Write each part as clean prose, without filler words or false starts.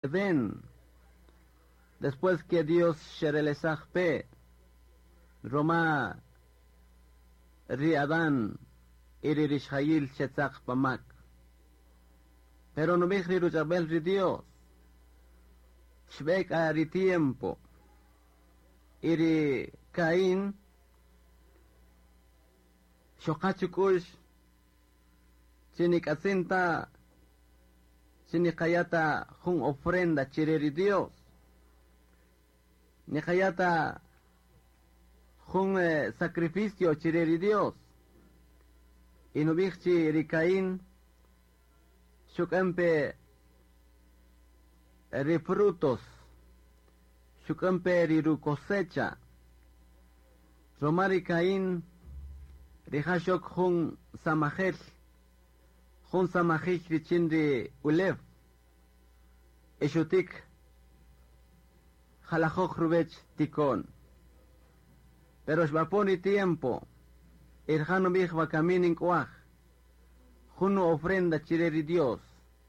Edén. Después que Dios xerelesaj pe roma ri Adán y ri rixjayil xetzaq pa mak. Pero nub'ij ri ruch'ab'el ri Dios. Xb'e k'a ri tiempo. Y ri Caín xoqa chuk'u'x chi nik'atzin ta chi niqaya' ta jun ofrenda chire ri Dios. Niqaya' ta jun sacrificio chire ri Dios. Y nub'ij chi ri Caín xuk'än pe ri frutos, xuk'än pe ri rucosecha. Roma ri Caín rija' xok jun samajel, jun samajij richin ri ulew. Y xutik jalajoj ruwech tiko'n. Pero xb'apon ri tiempo, y rija' nub'ij wakami nink'waj jun ofrenda chire ri Dios,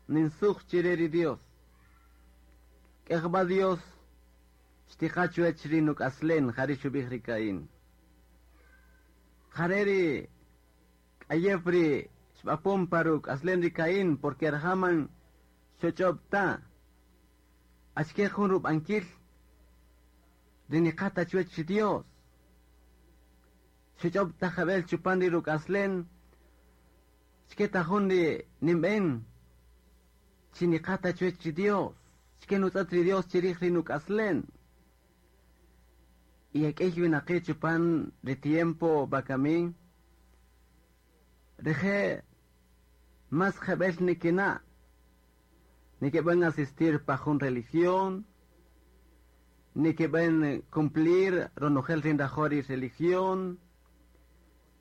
ninsuj chire ri Dios. K'ejb'a Dios xtiqa chuwech ri nuk'aslen, jari' xub'ij ri Caín. Jare' ri k'ayew ri xb'apon pa ruk'aslen ri Caín, porque rija' man xuch'ob' ta. Achike jun rub'ankil ri niqa ta chuwech ri Dios. Xuch'ob' ta jab'el chupan ri ruk'aslen, achike ta jun ri ninb'en chi niqa ta chuwech ri Dios. Achike nutz'et ri Dios chirij ri nuk'aslen. Y ek'ey winaqi' chupan ri tiempo wakami, rije' mas jeb'el nikina', nikib'an asistir pa jun religión, nikib'an cumplir ronojel ri nrajo' ri religión,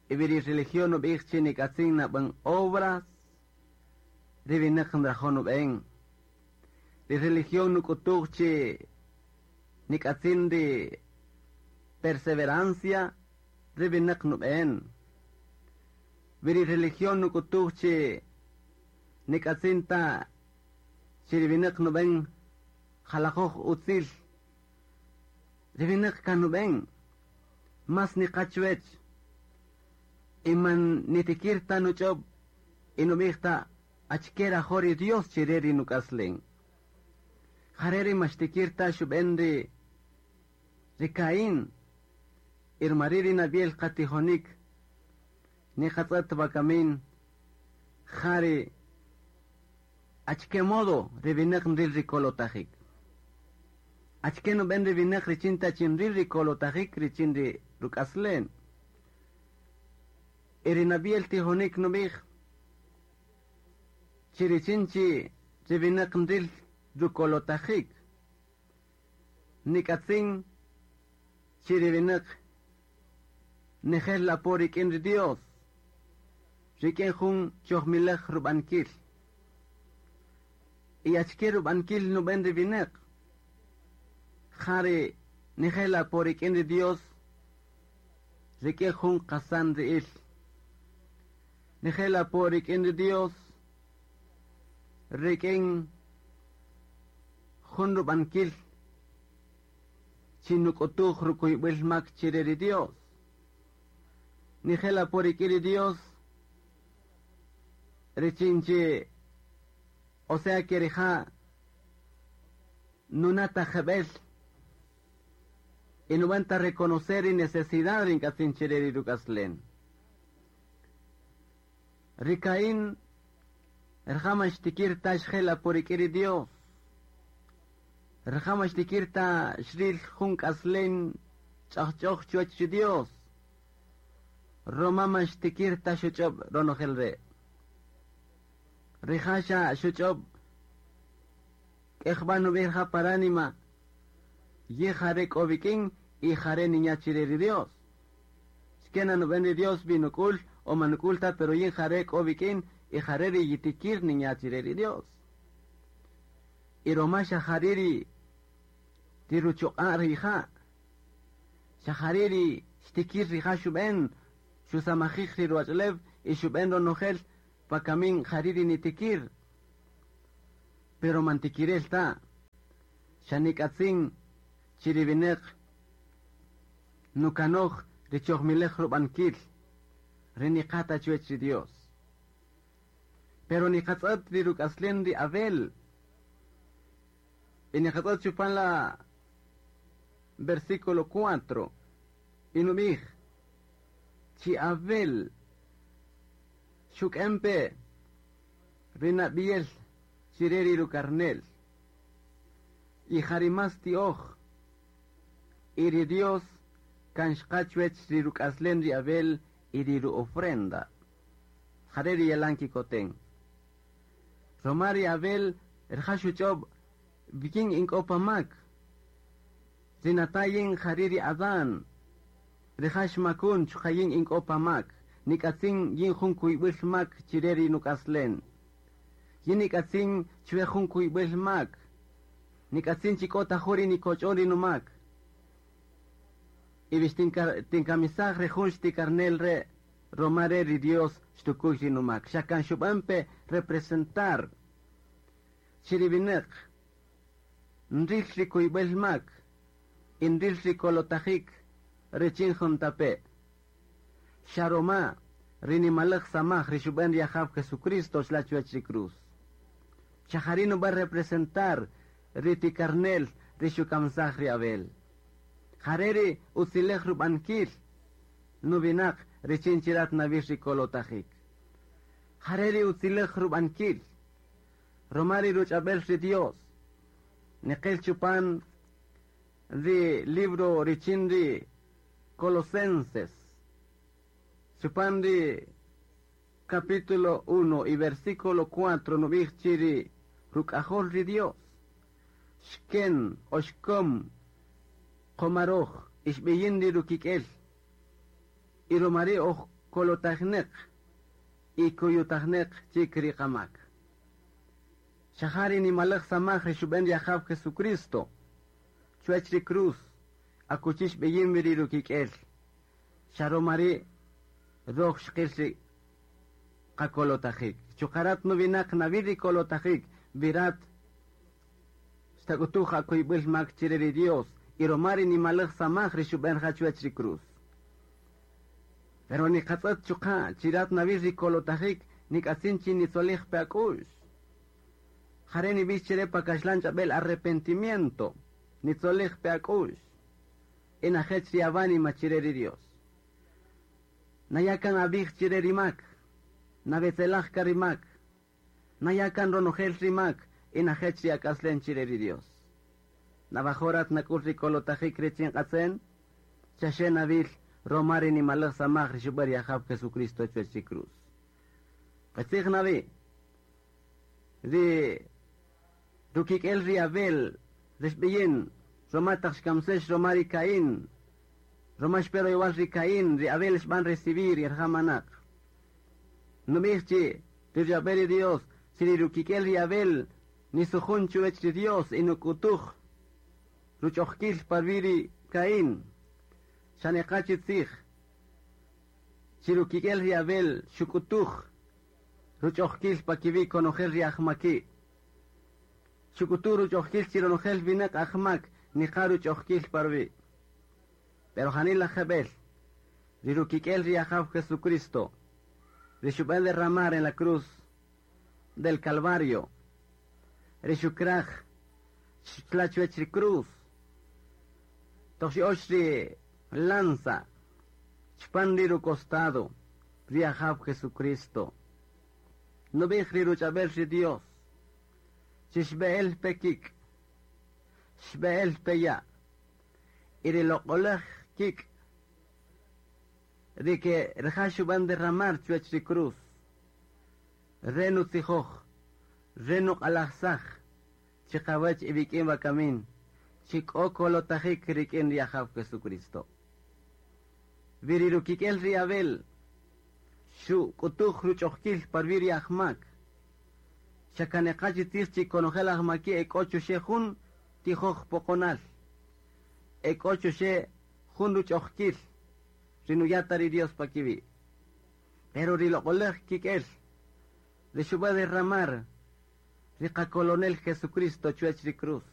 y ri religión nub'ij chi nik'atzin nab'an obras, ri winaq nrajo' nub'en. Ri religión nuk'utuj chi nik'atzin ri perseverancia, ri winaq nub'en. Ri religión nuk'utuj chi nik'atzin ta chi ri winaq nub'en jalajoj utzil. Ri winaq kan nub'en mas niqa chuwech. Y man nitikir ta nuch'ob' y nub'ij ta achike rajo' ri Dios chire ri nuk'aslen. Jare' ri maxtikir ta xub'en ri Caín. Y rma ri' ri nab'yel qatijonik niqatz'et wakamin jari achike modo ri winaq nril ri kolotajik. Achike nub'en ri winaq richin ta chi nril ri kolotajik richin ri ruk'aslen. Y ri nab'yel tijonik nub'ij chi richin chi ri winaq nril rukolotajik. Nik'atzin chi ri winaq nijel apo rik'in ri Dios. Rik'in jun chojmilaj rub'ankil. Y achike rub'ankil nub'en ri winaq. Jari nijel apo rik'in ri Dios. Rik'in jun qasan ri'il. Nijel apo rik'in ri Dios. Rik'in jun rub'ankil chi nuk'utuj rukuyb'il mak chire ri Dios. Nijel apo rik'in ri Dios. Richin chi, o sea que rija' nunata jeb'el y nub'an ta reconocer ri necesidad ri nk'atzin chire ri ruk'aslen. Ri Caín rija' man xtikir ta xjel apo rik'in ri Dios. Rija' man xtikir ta xril jun k'aslen ch'ajch'oj chuwach ri Dios. Roma man xtikir ta xuch'ob' ronojel re'. Rija' xa xuch'ob' k'ejb'a nub'ij rija' pa ránima ye jare' k'o wik'in y jare' ninya' chire ri Dios. Xkena nub'en ri Dios binuk'ul o manuk'ul ta, pero yin jare' k'o wik'in y jare' ri yitikir ninya' chire ri Dios. Y roma xa jari' ri ruchuq'a' rija'. Xa jari' ri xtikir rija' xub'en xusamajij ri ruwach'ulew y xub'en ronojel pa kamin jari' ri nitikir. Pero man tikirel ta. Xa nik'atzin chi ri wineq nukanoj ri chojmilej rub'ankil ri niqata chuwech ri Dios. Pero niqatz'ët ri ruk'aslen ri Abel y niqatz'ët chupan la versículo 4 y nub'ij chi Abel xuk'en pe ri nab'iyel chire ri rukarnel y ja ri más ti'oj y ri Dios kan xqa chuwech ri ruk'aslen ri Abel y ri ru-ofrenda. Jare' ri yalan kikoten. Roma ri Abel rija' xuch'ob' yin ink'o pa mak. Ri nata' yin jari' ri Adán. Rija' xmakun chuqa' yin ink'o pa mak. Nik'atzin yin jun kuyb'il mak chire ri nuk'aslen. Yin nik'atzin chwe jun kuyb'il mak. Nik'atzin chi k'o ta jun ri nikoch'on ri numak. Y bix tinkamisaj ri jun xtikarnel re' roma re ri Dios xtukuy ri numak. Xa kan xub'an pe representar chi ri wineq nril ri kuyb'el mak y nril ri kolotajik richin juntape'. Xa roma ri nimalej samaj ri xub'an ri Ajaw Jesucristo xla chuwech ri cruz. Xa jari' nub'an representar ri tikarnel ri xukamsaj ri Abel. Jare' ri utzilej rub'ankil nuwinaq richin chirat nawil ri kolotajik. Jare' ri utzilej rub'ankil roma ri ruch'ab'el ri Dios. Niqil chupan ri libro richin ri Colosenses. Chupan ri capítulo 1 y versículo 4 nub'ij chi ri ruk'ajol ri Dios. Xken o xkom qomaroj ixb'iyin ri rukik'el. Y romari oj kolotajneq y kuyutajneq chik ri qamak. Xa ja ri nimalej samaj ri xub'en ri Ajaw Jesucristo. Chuwech ri cruz akuchi xb'iyin wi ri rukik'el. Xa romari roj xqil ri qakolotajik. Chuqarat nuwinaq nawil ri kolotajik virat xtak'utuj akuyb'il mak chire ri Dios y romari nimalej samaj ri xub'en ja chuwech ri cruz. Pero niqatz'ët chuqa' chirat nawil ri kolotajik nik'atzin chi nitzolij pe ak'u'x. Jare' nib'ix chire pa kaxlan ch'ab'el arrepentimiento nitzolij pe ak'u'x. Y najech ri awánima chire ri Dios. Nayakan ab'ij chire ri mak. Nawetzelaj ka ri mak. Nayakan ronojel ri mak y najech ri ak'aslen chire ri Dios. Nawajo'rat nak'ul ri kolotajik richin q'atzen, xaxe nawil roma ri nimalej samaj ri xub'an ri Ajaw Jesucristo chuwech ri cruz. Qitzij nawi ri rukik'el ri Abel ri xb'iyin roma taq xkamsex roma ri Caín roma xpe royowal ri Caín ri Abel xb'an recibir y rija' manaq. Nub'ij chi ri ruch'ab'el ri Dios chi ri rukik'el ri Abel nisujun chuwech ri Dios y nuk'utuj ruch'ojkil parwi' ri Caín. Xa neqa chi tzij chi rukik'el ri Abel xuk'utuj ruch'ojkil pa kiwi' konojel ri ajmaki'. Xuk'utuj ruch'ojkil chi ronojel winaq ajmak niqa ruch'ojkil parwi'. Pero janila jeb'el ri rukik'el ri Ajaw Jesucristo ri xub'an derramar en la cruz del Calvario ri xukraj xla chuwech ri cruz toq xi'ox ri lanza chupan ri rucostado ri Ajaw Jesucristo. Nub'ij ri ruch'ab'el ri Dios chi xb'e'el pe kik' xb'e'el pe ya' y ri loq'olej kik' ri ke rija' xub'an derramar chuwech ri cruz. Re nutzijoj re nuq'alajsaj chiqawach iwik'in wakamin chi k'o kolotajik rik'in ri Ajaw Jesucristo. Wi ri rukik'el ri Abel xuk'utuj ruch'ojkil parwi' ri ajmak. Xa kaneqa chi tzij chi konojel ajmaki' e k'o chuxe jun tijoj poqonal. E k'o chuxe jun ruch'ojkil ri nuyata ri Dios pa kiwi'. Pero ri loq'olej kik'el ri xub'an derramar ri qakolonel Jesucristo chuwech ri cruz.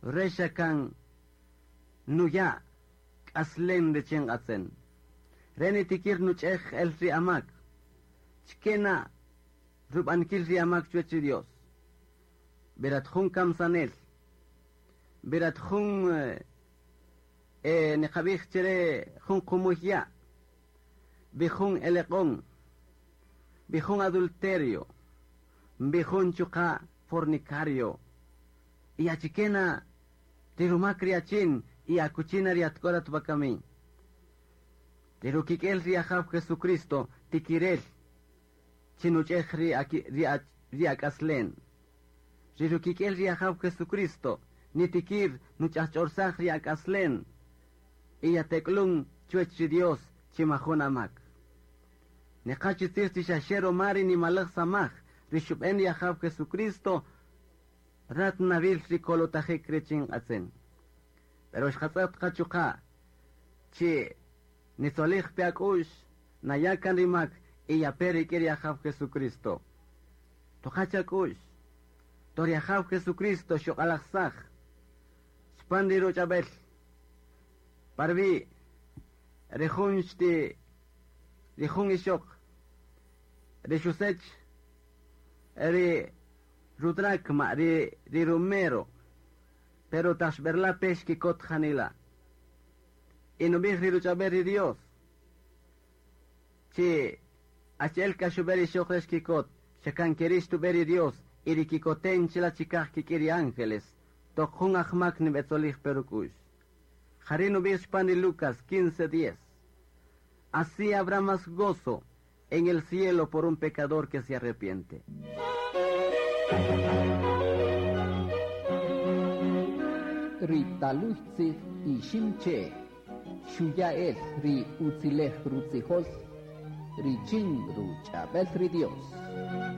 Re kan nuya k'aslen richin nqatzen. Re nitikir nuch'ej el ri amak. Chkena rub'ankil ri amak chuwech ri Dios. Berat jun kamsanel. Berat jun niqab'ij chere jun qumuy ya'. Bijun eleq'on. Bijun adulterio. Bijun chuqa fornicario. Y achikena ri rumak ri achin y akuchina ri atkorat bakami. Ri rukik'el ri ajaw Jesucristo tikirel chinuch'ej ri ri ri ak'aslen. Ri rukik'el ri ajaw Jesucristo nitikir nuch'ajch'orsaj ri ak'aslen. Y yateklun chuwech ri Dios chimajun amak. Neqachi tzij chi xaxe romari nimalaj samaj ri xub'en ri ajaw Jesucristo rat nawil ri kolotajik richin q'atzen. Pero xqatz'ët qachuqa chi nitzolij pe ak'u'x nayakan ri mak y yape rik'in ri ajaw Jesucristo. Toqacha ak'u'x to ri ajaw Jesucristo xuq'alajsaj xpan ri ruch'ab'el parwi ri jun xti ri jun ixoq ri xusech ri rudracma ri ri rumero pero taq xb'erla pe xkikot janila. Y nub'ij ri ruch'ab'el ri Dios chi achi'el k'a xub'e ri ixoq re xkikot xakan keri' xtub'e ri Dios y ri kikoten chila chikaj kik'in ri ángeles toq jun ajmak nib'etzolij pe ruk'u'x. Jari' nub'ij xpan ri Lucas 15:10. Así habrá más gozo en el cielo por un pecador que se arrepiente. Ri taluy tzij iximche xuya'el ri utzilej rutzijol richin ruch'ab'el ri Dios.